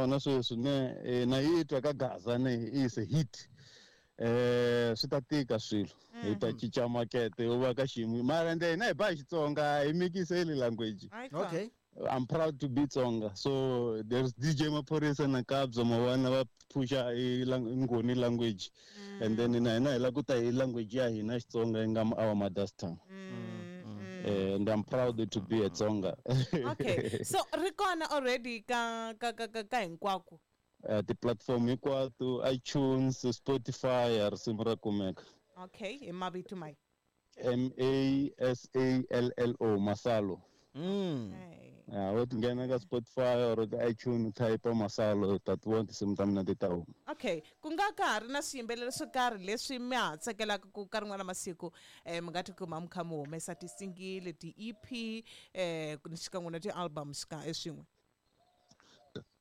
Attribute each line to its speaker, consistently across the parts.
Speaker 1: yona sweswi ne na yi twa ka Gaza ne is a hit. Swi ta tika swilo hi ta cinca makete u va ka xiyimo mara ende hina hi ba hi Xitsonga hi mikiseli language.
Speaker 2: Okay.
Speaker 1: I'm proud to be Tsonga. So there's DJ Maphorisa na Kabza Mawana va phusha i Ngoni language. And then na hina hi la ku ta hi language ya hina Xitsonga yi nga our mother's tongue. And I'm proud to be a Tsonga.
Speaker 3: Okay. So ri kona already ka ka ka ka, ka hinkwako.
Speaker 1: Ti-platform hinkwato, iTunes, Spotify, risimu ra kumeka.
Speaker 3: Okay, hi mavito mai.
Speaker 1: M A S A L L O, Masalo. Ya, wo nghena ka Spotify or ka iTunes, type Masalo, ta ti vona tinsimu ta mina ti ta huma.
Speaker 3: Okay, ku nga ka ha ri na swiyimbeleri swo karhi leswi mi ha tsakelaka ku ka rin'wana masiku mi nga tikuma mi kha mi humesa ti-single, ti-EP, xikan'we na ti-album swin'we.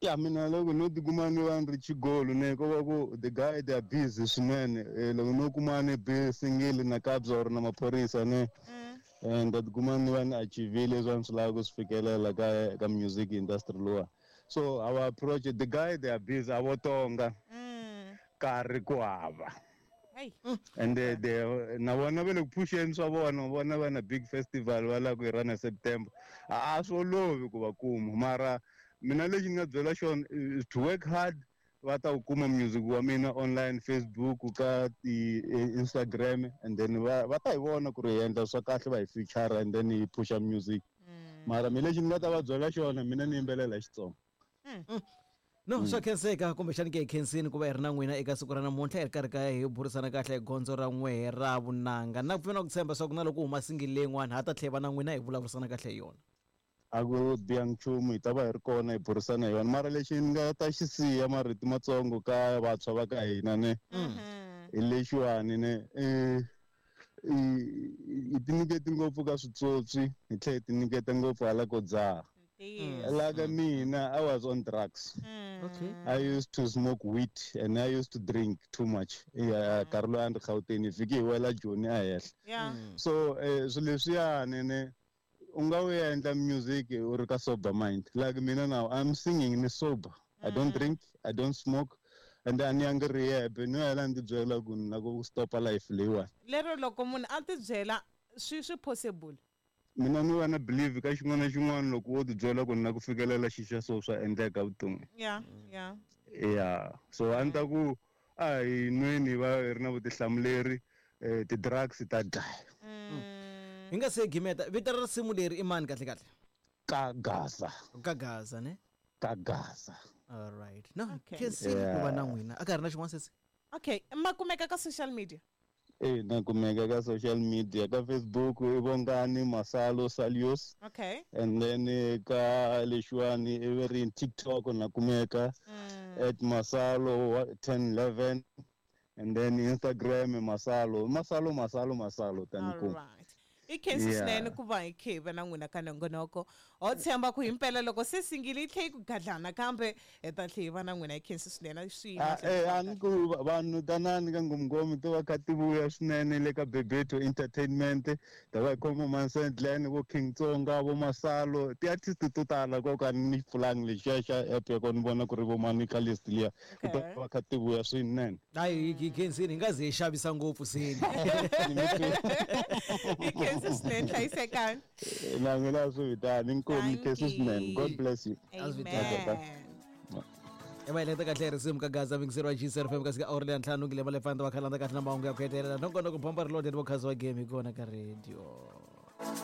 Speaker 1: Ya mina loko no tikuma ni va ni ri xigolo ne ko va ku the guy they are busy swinene. Loko no kuma ni be single na Kabza or na Maphorisa ne, and ta tikuma ni va ni achieve-ile leswi a ni swi lava ku swi fikelela ka music industry lowa. So our approach, the guy they are busy, a vo tonga karhi ku hava.
Speaker 3: Hey.
Speaker 1: And they na vona va le ku phuxeni swa vona, vona va na big festival va lava ku yi run September. A swi olovi ku va kuma, mara mina lexi ni nga byela xona is to work hard, va ta ku kuma music wa mina online, Facebook, ka ti Instagram, and then va ta hi vona ku ri hi endla swa kahle, va hi feature and then hi pusha music. Mara mina lexi ni nga ta va byela xona, mina ni yimbelela hi Xitsonga.
Speaker 2: No, swa khenseka kumbexani ke hi khensini ku va hi ri na n'wina eka siku ra namuntlha, hi ri karhi ka hi burisana kahle hi gondzo ra n'wehe ra vunanga. Na ku pfumela ku tshemba swa ku na loko huma single leyin'wana ha ta tlhela va na n'wina hi vulavurisana kahle hi yona.
Speaker 1: A ku biha nchumu, hi ta va hi ri kona hi burisana hi yona. Mara lexi ni nga ta xi siya marito matsongo ka vantshwa va ka hina ne, hi lexiwani ne, hi tinyiketi ngopfu ka switswotswi, hi tlhela hi tinyiketa ngopfu hala ko dzaha. Like mina, I was on drugs.
Speaker 2: Okay.
Speaker 1: I used to smoke weed and I used to drink too much. Yeah, Carlo and Gauteng, vhiki hi wela Joni a henhla. So swilo leswiyani ne, u nga wu endla music u ri ka sober mind. Like mina now, I'm singing ni sober. I don't drink, I don't smoke, and a ni yangi rehab. Ni hela ni tibyela ku ni la ku stopa life leyiwani.
Speaker 3: Lero loko munhu a tibyela swi possible.
Speaker 1: Mina ni va na believe ka xin'wana na xin'wana loko wo tibyela ku ni la ku fikelela xi xa so swa endleka vuton'wini.
Speaker 3: Yeah, yeah.
Speaker 1: Yeah. So a ni ta ku a hi nweni va hi ri na vutihlamuleri, ti-drugs ta dlaya.
Speaker 2: Hi nga se gimeta, vito ra risimu leri i mani kahle kahle?
Speaker 1: Ka Gaza.
Speaker 2: Ka Gaza ne?
Speaker 1: Ka Gaza.
Speaker 2: All right. No,
Speaker 3: Okay.
Speaker 2: khensini ku va na n'wina. A ka ha ri na xin'wana sesi?
Speaker 3: Okay, ma kumeka ka social media?
Speaker 1: Na kumeka ka social media, ka Facebook i Bongani Masalo Salios.
Speaker 3: Okay.
Speaker 1: And then ka lexiwani i ve ri TikTok na kumeka at Masalo 1011, and then Instagram Masalo, Masalo, Masalo, Masalo tani
Speaker 3: All
Speaker 1: ku.
Speaker 3: right. I khensi swinene ku va hi khe hi va na n'wina ka nongonoko. Ho tshemba ku himpela loko se single yi tlhe yi ku gadlana kambe hi ta tlhe hi va na n'wina. Hi khensi swinene swi
Speaker 1: A ni ku vanhu tanani ka Nghomghome to va kha ti vuya swinene le ka Bebeto Entertainment, ta va hi khoma Mansendlane, vo King Tsonga, vo Masalo, ti-artist to tala ko ka ni pfulangi lexiya xa app ya kona ni vona ku ri vo mani ka list liya.
Speaker 3: Okay.
Speaker 1: Ta va kha ti vuya swinene.
Speaker 2: Hayi, hi khensini, hi nga ze hi xavisa ngopfu seni.
Speaker 3: Hi khensi swinene, hlayisekani.
Speaker 1: Na mina swi vitani, inkomu,
Speaker 3: Thank
Speaker 1: khensi swinene.
Speaker 3: you.
Speaker 1: God bless you.
Speaker 3: Amen.
Speaker 2: Amen. E va heleketa kahle risimu ka Gaza mingiseriwa G C F M kasi ka awara leya ntlhanu ngile va le fana va khalanda kahle na mahungu ya ku hetelela. Nongonoko bomba ri loaded vo khazi wa game hi kona ka radio.